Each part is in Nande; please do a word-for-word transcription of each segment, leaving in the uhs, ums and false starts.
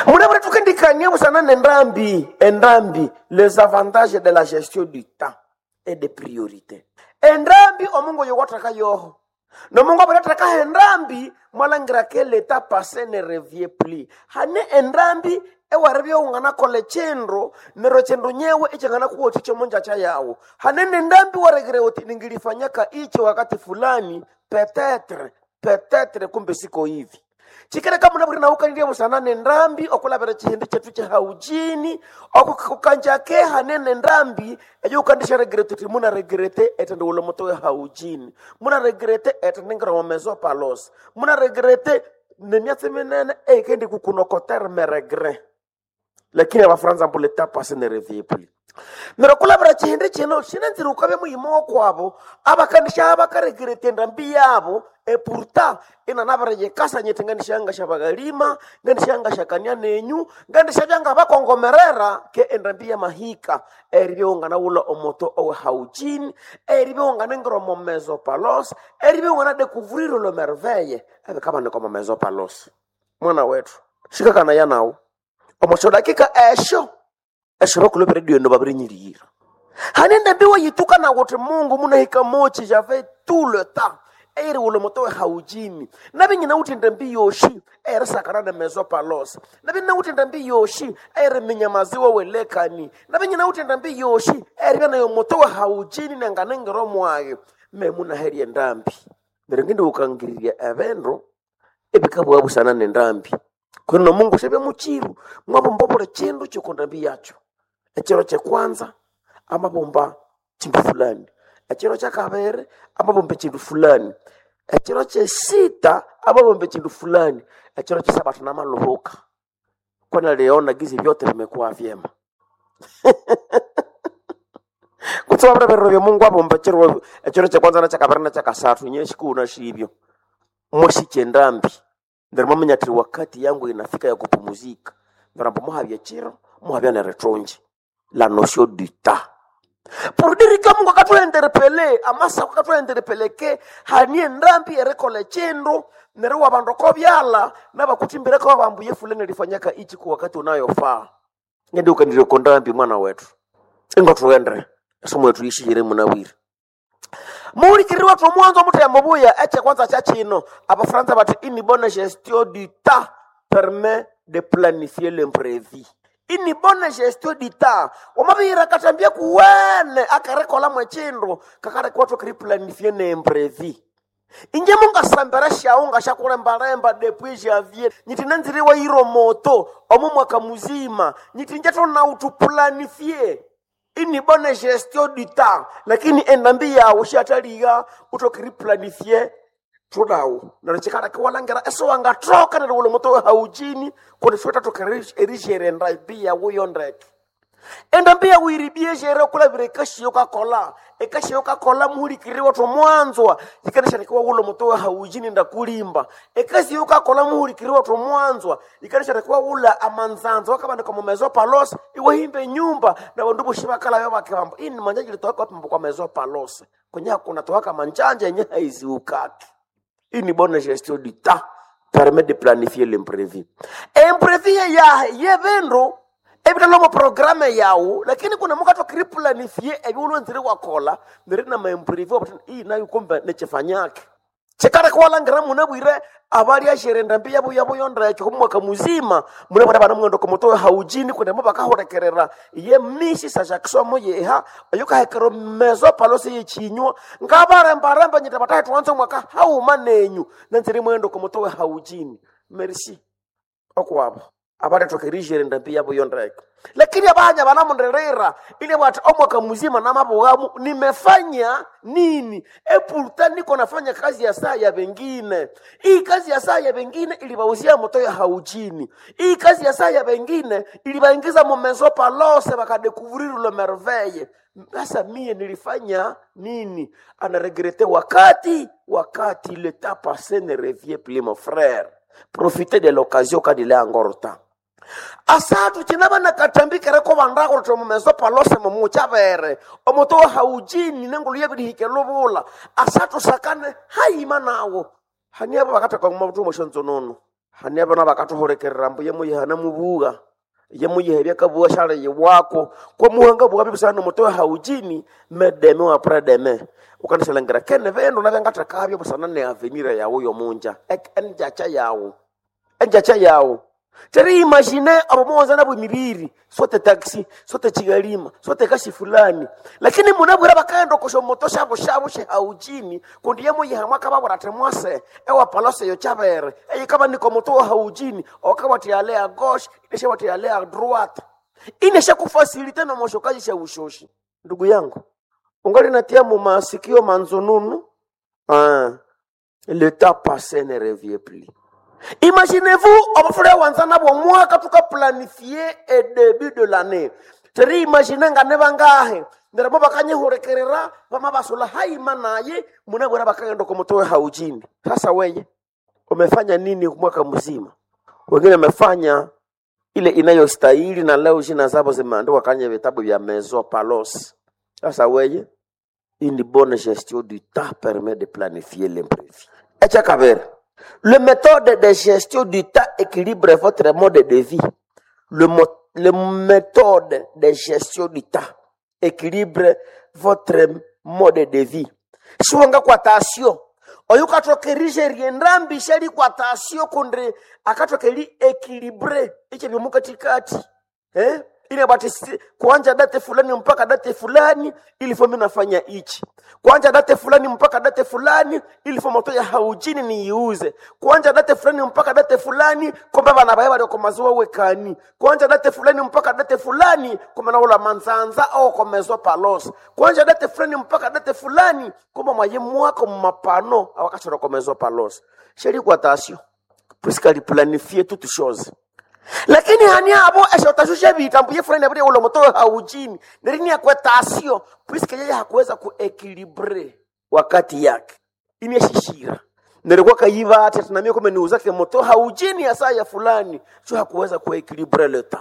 Munabura tukendikania busana nendambi endambi les avantages de la gestion du temps et des priorités. Endambi omungu yowathaka yoho nomungu abirathaka endambi mwalangira ke l'état passé ne revient plus. Hane endambi ewaribya unganakola echindu neryo chindu nyewe ichanganakuwathikya omonjacha yawu. Hane nendambi waregere uti ningilifanyaka ichi wakati fulani peut-être peut-être kumbe siko hivi. Chikereka muna buri naukanirye busana nendambi okulabira chihindi chetu chehaujini okukanjake hanene ndambi eyo ukandisha regrete uti muna regrete etende ulo moto haujini muna regrete etende ngira mezo palos muna regrete nemyatsi minene eikendi kukunokotere meregre lakini abafaransa mbu l'état passé ne revient plus. Neryo kulabira chihindi chino shinanzire ukabya muyima wokwabo abakandisha abakaregrete endambi yabo epurta inanabireyekasa nyete ngandishanga shabagalima ngandishanga shakania nenyu ngandishabya ngabakongomerera ke endambi ya mahika eribya unganawula omoto owe haujini eribya unganengira omo mezo palos eribya ungana découvrir le merveille ebikabanika omo mezo palos. Mwana wetu shikakana yanawo omosho dakika esho esho bakulopera radio eno babirinyirira hane ndambi yituka na kuti Mungu munahika mochi j'avais tout le temps eri ulo moto haujini nabi nyina uti ndambi yoshi eri sakana na mezo palos nabi nyina uti ndambi yoshi eri minyamaziwa welekani nabi nyina uti ndambi yoshi eri bana yo moto haujini nanganengero mwayo me munaheri ndambi neryo ngindi ukangiriria ebindu ebikabwa busana nendambi kwino Mungu shebe muchiru mwabomba buli chindu chikundambi yacho. Echiro chekwanza amabomba chindu fulani, echiro cha kabere amabomba chindu fulani, echiro chesita amabomba chindu fulani, echiro chesabatu namalohoka kwana leona gizi vyote vimekuwa vyema. Kutsowa bira bya Mungu abomba chiro echiro chekwanza na chakabere na chakasathu nyeshikuna shibyo mwashiche ndambi ndio mamanya ati wakati yangu inafika ya kupumuzika ndio muhabya chiro muhabya neretonje la notion du temps pour dire que Mungu akathuenderepele amasa akathuenderepeleke hanie ndambi erekola chindu neryo wabandu kobyala nabakutimbireko babambuye fulani lifanyaka ichi kwa wakati unayofaa ngende ukandireko ndambi mwana wetu ingo tuende somo yetu ishihire munawiri muhulikiriri wathu omwanzo omuthembo buya eche kwanza cha chino abafaransa bati une bonne gestion du temps permet de planifier l'imprévu. Une bonne gestion du temps wamabihira katambia kuwene akarekola mwechindu kakarekwathu kiri planifier n'imprévu. Inje mungasambera shawu ngashakulembalemba depuis janvier nyiti nanziriwa yiro moto omu mwaka muzima nyiti nje tunautu planifie ini bonne gestion du temps lakini endambi yawo shataliga utokiri planifie tudawu neryo chikaleka iwalangira esiwangathoka neryo wula moto haujini kundi siwethathoka erijere endambi yawu yondeke. Endambi yawu iribie okulavira ekashiyo kakola ekashiyo kakola muhulikiriri wathu omwanzwa yikanashanika wawula moto haujini ndakulimba ekasiyo kakola muhulikiriri wathu omwanzwa yikanashanika wawula amanzanza wakabanika mumezo palos iwahimba enyumba nabandu boshi bakalayo bakibamba ini manjanja litowaka wapimba kwa mezo palos kwenye kuna towaka manjanja yenye haiziukaki. Une bonne gestion du temps permet de planifier l'imprévu. Imprévu ya yebindu ebitalomo programme yawu lakini kuna mukato kiri planifier ebyulwenzire wakola neri na maimprévu ii nayo kumbe nechifanyake chikara kwalangira munabwire abali ashere ndambi yabo yabo yondrecho kumwaka muzima munabwire bana mwendo komoto haujini kundi mubakahurekerera ye mishi sa jackson yeha oyukahekero mezo palose yechinywa ngabarembaremba nyita batahe tuwanze mwaka hauma nenyu nanziri mwendo komoto haujini merci okwabo abalethokerijere ndambi yabo yondreke lakini abanya banamunderera ile bwati omwaka muzima namabughamu nimefanya nini epurta niko nafanya kazi ya saa ya bengine. Hii kazi ya saa ya bengine ilibauzia moto ya haujini. Hii kazi ya saa ya bengine ilibaingiza mumezo palose bakadécouvrir le merveille. Sasa mie nilifanya nini? Anaregrete wakati wakati le temps passé ne revient plus mon frère. Profitez de l'occasion quand il est encore temps. Asatu chinaba nakatambikire ko bandako to mumezo palose mumuchabere omoto haujini nengulu yebirihike lubula asatu sakane haima nawo hani abo bakataka mabtu moshonzonono Hani abana bakathuhulikirira mbu yemuyiha mubuga yemuyiha ebyakabuga syali yiwako kwa muhanga buga bibisana nomutowe haujini medeme wa predeme ukandisyalhangira kene bindu nabyangathekabyo busana ne avenir yawu yomunja enjacha yawu enjacha yawu Teri imagine abo muwanza nabo emibiri sote taxi sote chigalima sote kasi fulani lakini munabwira bakaenda okosha moto shabo shabo shehaujini kundi yemuyiha mwakababwira ati mwase ewa palose yo chabere eyikaba niko moto wa haujini okabati ale a gauche inesha ale a droite inesha kufasilite na moshokaji sha ushoshi. Ndugu yangu ungali natia mu masikio manzununu ah, le temps passé ne revient plus. Imaginez-vous, obufure wanza nabwo mwaka tukaplanifie e début de l'année. Teri imagine nga ne bangahe nderabo bakanyihurekerera bama basula haima naye munabwera bakagenda kumutowe haujini. Sasa weye umefanya nini mwaka mzima? Wengine wamefanya ile inayostahili na leo jina zabo zimeandikwa kwenye vitabu vya Maison Palos. Sasa weye une bonne gestion du temps permet de planifier l'imprévu. Echa kabere. Le méthode de gestion du temps équilibre votre mode de vie. Le, mo le méthode de gestion du temps équilibre votre mode de vie. Siwanga kwa tasio. Oyo kathokerije riendambi shali kwa tasio kundri akathokeri équilibre iche byomukatikati. Eh? Ile bati kuanja date fulani mpaka date fulani ilifo mimi nafanya ichi. Kuanja date fulani mpaka date fulani ilifo moto ya haujini niiuze. Kuanja date fulani mpaka date fulani komba bana baye bali komazuwa wekani. Kuanja date fulani mpaka date fulani komba na ula manzanza au komezo palos. Kuanja date fulani mpaka date fulani komba mwaye mwako mapano awakachora komezo palos. Sheri kwa tasio. Puisque ali planifier toutes choses. Lakini hani abo esho tashusha vitambu ye fulani abiri ulo moto haujini nerini akwetasio puisque yeye hakuweza kuequilibre wakati yake ineshishira nerikuwa kayiva ati tunamia kome niuzake moto haujini ya saa ya fulani cho hakuweza kuequilibre leta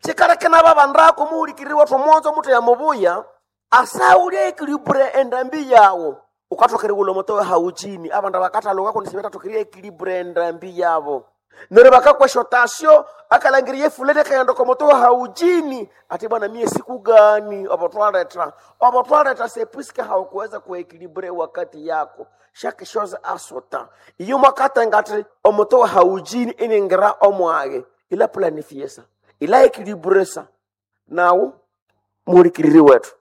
chikareke na babandako muhulikiriwa tumonzo mutu ya mubuya asaulia equilibre endambi yawo ukatokere ulo moto haujini abandu bakataloka kunisibetatokeria equilibre endambi yabo nere bakakweshotasyo akalangiriye fulani akaenda komoto haujini ati bwana mie siku gani obotwaleta obotwaleta sepuiske haukuweza kuekilibre wakati yako chaque chose a son temps iyo mwakata ngati omoto haujini iningira omwage ila planifie sa ila ekilibre sa nawu mulikiriri wetu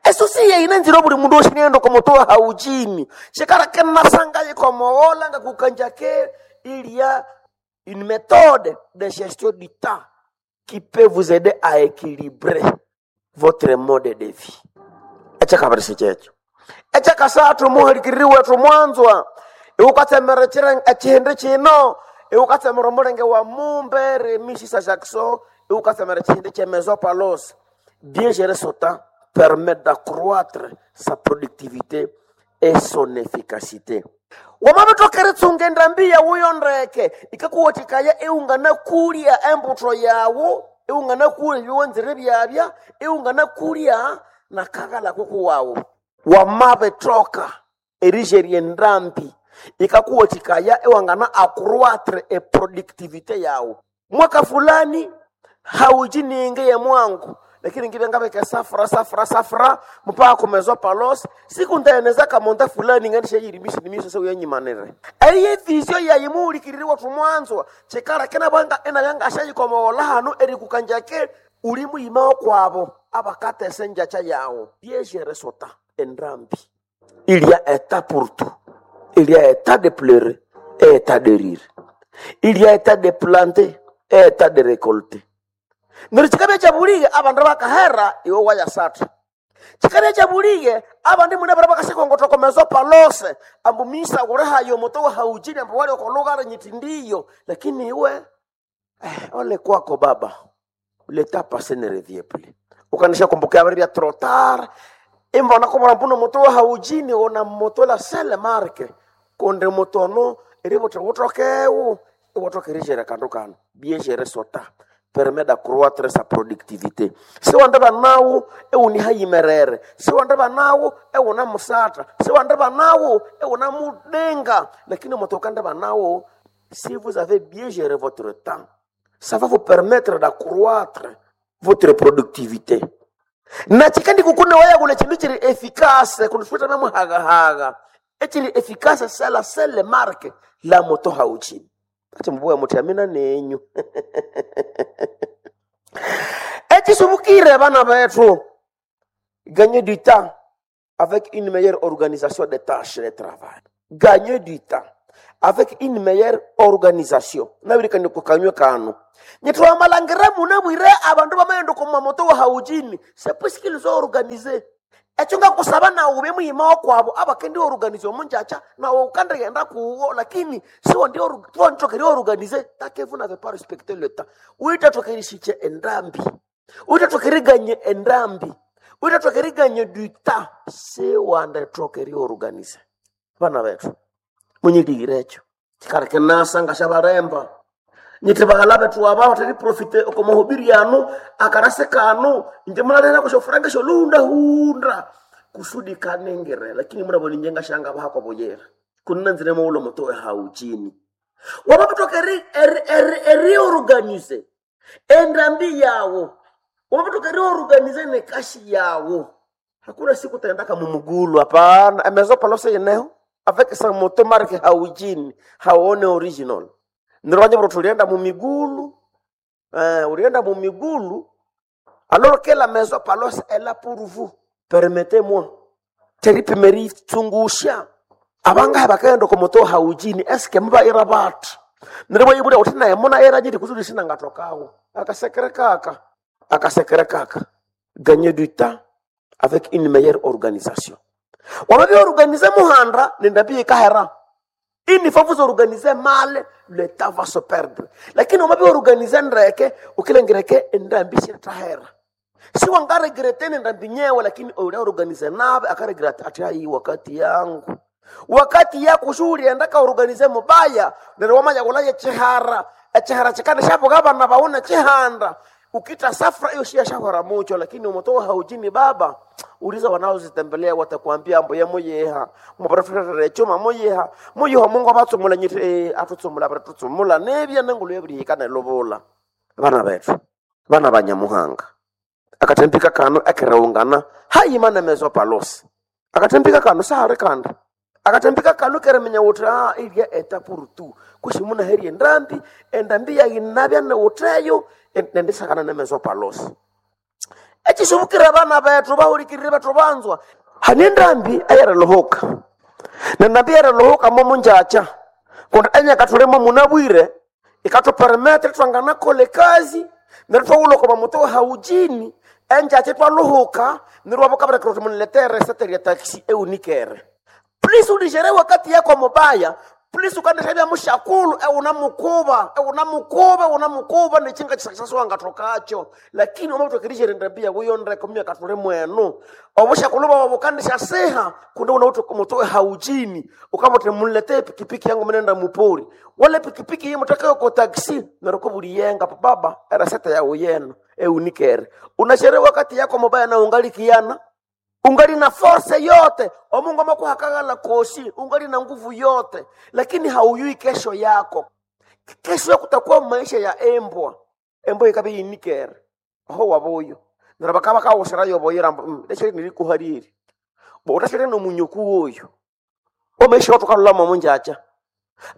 eso si yeine nzira buli mundu oshinendo komoto haujini shikara kenasanga yikomowola nga kukanja ke il y a une méthode de gestion du temps qui peut vous aider à équilibrer votre mode de vie. Echakabiri checho. Echakasathu muhulikiriri wethu mwanzwa iwukatsemera echihindi chino iwukatsemera omulenge wa mumbe remishisa Jackson iwukatsemera echihindi che Maison Palos. Bien gérer son temps permet d'accroître sa productivité et son efficacité. Wamabitokere tsunga endambi yawu yondeke ikakuwathikaya iwunganakulya embutho yawu iwunganakulya ebiwanzire byabya iwunganakulya nakaghala kukuwawu wamabithoka erijerya endambi ikakuwathikaya iwangana accroître eproductivité yawu mwaka fulani haujininge ya mwangu lakini ngibe ngabeke safra safra safra mpaka kumezwa palos siku ndaeneza kamonda fulani ngandisha yirimisha nimisha se uyanyimanire eye visio yayimuhulikiririwa tumwanzwa chikara kena bwanga ena yanga ashayikomowola hanu erikukanjake uli muyima kwabo abakatese njacha yawo byejere sota endambi. Il y a un temps pour tout. Il y a un temps de pleurer et un temps de rire. Il y a un temps de planter et un temps de récolter. Neryo chikabya kyabulige abandu bakahera iwe wayasatha. Chikabya kyabulige abandi mune bara bakashikongothoko mezo palose ambu misa kulihayo omuto wahaujini ambu wali okolugara nyiti ndiyo lakini iwe eh, ole kwako baba leta passé ne revient plus. Ukanisha kumbuka habari ya trotar imbona komora mbuno moto wahaujini ona moto la sele marke konde motono eribote wotokewu iwotokerijere kandu kano bien gérer son temps permet d'accroître sa productivité. Siwandeba nawu ewunihayimerere, siwandeba nawu ewuna musatha, siwandeba nawu ewuna mudenga, lakini moto ukandeba nawu Si vous avez bien géré votre temps, ça va vous permettre d'accroître votre productivité. Na chikandi kukune waya kule chindu chiri efficace kundifuta na muhagahaga echiri efficace c'est la seule marque la moto hauchini ati mbuya muti amina nenyu echisubukire bana betu. Gagner du temps avec une meilleure organisation des tâches de travail. Gagner du temps avec une meilleure organisation. Nabirikani kukanywa kano. Nyitwa malangira munabwire abandu bamayendo kuma moto wa haujini. C'est puisqu'ils sont organisés. Ekyo ngakusaba nawe ube muyima wakwabo abakendi organize omunjacha nawe ukandagenda kuwo lakini siwo ndi tuwantokeri organize take vous n'avez pas respecté le temps. Uitatokerishiche endambi. Uitatokeriganye endambi. Uitatokeriganye du temps. Siwandatokeri organize. Bana betu munyiligire ekyo kikareke nasa ngashabaremba nyiti baghala betu aba batari profite oko mahubiri anu akarase kanu nje mulalera kushofuranga sholunda hunda kusudi kanengere lakini murabona nje ngashanga bahako boyera kunna nzire mawulo moto hauchini wabatoka eri eri eri eri organize endambi yawo wabatoka eri organize nekashi yawo. Hakuna siku taendaka mumugulu hapana. Emezo palose yeneho avec sa moto marque haujini haone original nirwanye bro tulienda mumigulu eh, ulienda mumigulu alors que la maison palos est là pour vous. Permettez-moi teripimeri tsungusha abanga bakaenda ku moto haujini eske muba ira batu nirwo ibura utina yemona era jiri kusudi sina ngatokawo akasekere kaka akasekere kaka. Gagner du temps avec une meilleure organisation. Wamavyo organize muhanda nendabie kahera. Ini faut vous organiser mal, le temps va se perdre. Lakini wamavyo organize ndreke, ukilengireke ndambi tahera. Si wangaregrete ndambi nyewe lakini ule organize nabe akaregrete ati ai wakati yangu. Wakati yako shughuli endaka organize mubaya, nero wamanya kulaye chihara, echihara chikana shapo gaba na baona chihanda. Ukita safra hiyo shia shahora mucho lakini umetoa haujini baba. Uliza wanaozitembelea watakwambia ambo ya moyeha muprofeta chuma moyeha moyeha Mungu abatsumula nyiti eh, atutsumula abatutsumula nebya nengulu yabirihikana lobola bana betu bana banyamuhanga akatembika kano ekereungana hayimana mezo palos akatembika kano sahari kanda akatembika kano keremenya wuti ah ilya eta purutu kushimuna heri endambi endambi yayinabya newuteyo nendisakana nemezo palos echisubukira bana betu bahulikirire betu banzwa hani endambi eyeriluhuka nendambi eyeriluhuka momunjacha kundi enyakatulimo munabwire ikatupermetre twanganakola ekazi neryo twawulha omo muto haujini enjacha twaluhuka neryo wabukabireka uti muniletere esete lya taxi eunikere. Please ulijere wakati yako mubaya. Please ukandishabya mushakulu euna mukuba euna mukuba euna mukuba nechinga chisakisaswa ngatokacho lakini omatokerishere ndabia wiyondre komya katule mwenu obushakulu baba bukandisha seha kunde una utu mutoe haujini ukamote mulete pikipiki yangu mnenda mupori wale pikipiki yimu takayo ko taxi naroko buliyenga baba eraseta ya uyeno eunikere unashere wakati yako mubaya na ungali kiana ungali na force yote omungu amakuhakagala kosi ungali na nguvu yote lakini hauyui kesho yako. Kesho yako kutakuwa maisha ya embwa embwa ikabe yinikere aho waboyo nara bakaba kawosera yoboyera mbu leshere nilikuhariri bo utashere no munyoku woyo omaisha watukalula munjacha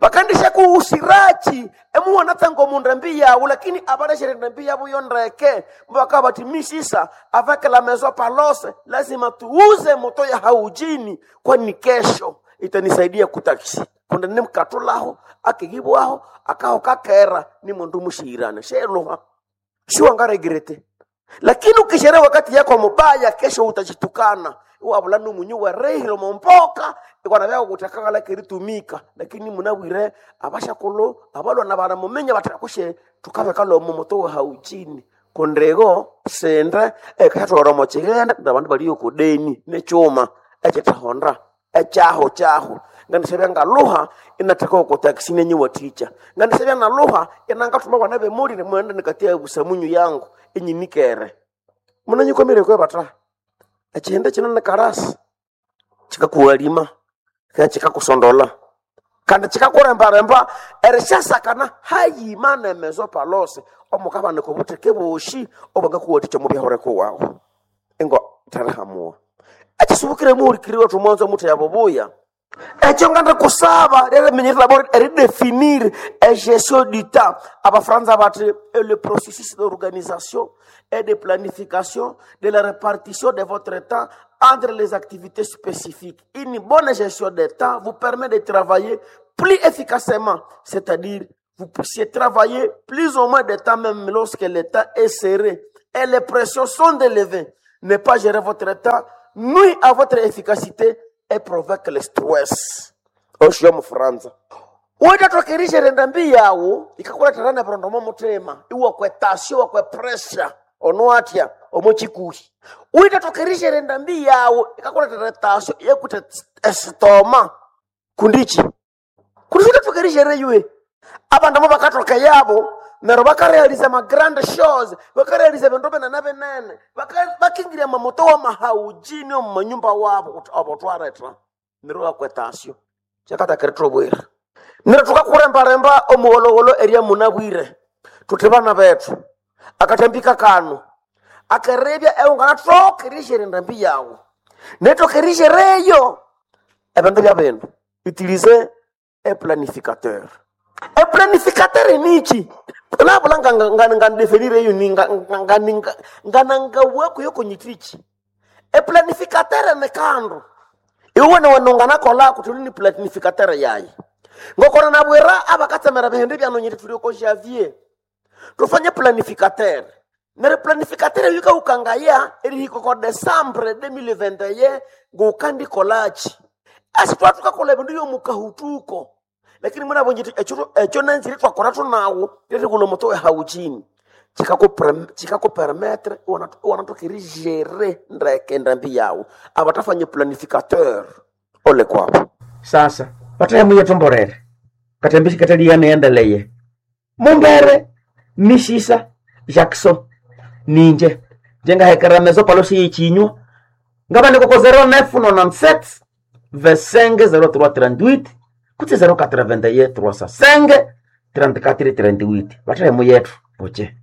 bakandisha kuusirachi emuwana tsango mundambi yawo lakini abaleshere ndambi yabo yondreke mbaka bati misisa avec la maison palose lazima tuuze moto ya haujini kwani kesho itanisaidia kutaksi kunda nimkatulaho akigibwaho akaho kakera ni mundu mushirana sheluha siwangaregrete lakini ukishere wakati yako mubaya kesho utachitukana wabula numunyu werehile mompoka ikwana vyako kutakakala keritumika lakini munabwire abashakulu abalwana bana mumenya batakushe tukabekala omo moto haujini kundego sende ekatwara mochigenda nabandu baliyo kudeni nechuma echitahonda echaho chaho ngandisebya ngaluha inatheka oko taxi nenye waticha ngandisebya naluha inangathuma bana bemuli nimwenda nikatia busamunyu yangu enyinikere munanyikomire kwe bata echihende chino ni karasi chikakuwalima kaya chikakusondola Kandi chikakurembaremba erishasakana hayima nemezo palose omukabanika obutheke boshi obwangakuwathikya omu byahureko wawu ingo therihamuwa ekisubukire muhulikiri wethu mwanzo omuthe yabubuya. Ekyo ngandi kusaba lyeriminyerera bo eridefinir egestion du temps. Abafaransa bati "Et le processus d'organisation et de planification de la répartition de votre temps entre les activités spécifiques. Une bonne gestion des temps vous permet de travailler plus efficacement, c'est-à-dire vous puissiez travailler plus ou moins de temps même lorsque le temps est serré et les pressions sont élevées. Ne pas gérer votre temps nuit à votre efficacité et provoque le stress. Osho mufaransa uitatokerishere ndambi yawu ikakuletera nebirondo mo mutima iwakwe tasio wakwe pressure ono atya omo chikuhi. Uitatokerishere ndambi yawu ikakuletera tasio yekute esitoma kundichi kundi utatokerishere yue abandu abo bakatoka yabo neryo bakarealiza ma grand shows, bakarealiza bindu binene binene, baka- bakingirya mamoto wa mahaujini omu manyumba wabo kuti abo twaretha neryo bakwetasyo kyakatakiri bwira. Neryo tukakurembaremba omuwolowolo erya munabwire thuthi bana bethu akathambika kano akerebya eungana tokerishere endambi yawu netokerishereyo ebindu bya bindu. Utilize e planificateur. E planificateur nichi nabula ngandefinire eyo nganangawako yokonyitichi. E planificateur ni kandu iwe niwenunganakola kuti uli ni planificateur yayi ngokona nabwira abakatsemera bihindi byanonyiti tuli ko Javier tufanye planificateur. Neri planificateur yikaukangaya erihika ko Desambre elfu mbili na ishirini na moja ngukandikolachi asi twatukakola ebindu byomukahutuko lakini mwinabonjiti ekyo ekyo nanzire twakora tunawo lirikula omuto wehauchini chikakupermetre iwanatoka erigere ndeke endambi yawu abatafanye planificateur ole kwabo. Sasa batahemuye tomborere katembi kataliyaneendeleye mumbere mishisa Jackson ninje njengahekera mezo palosi yichinywa ngaba ndikoko zero nine nine sept vingt-cinq zéro trois trente-huit kutse zéro quatre-vingt-un trois cent cinq trente-quatre trente-huit batahemu yethu poche.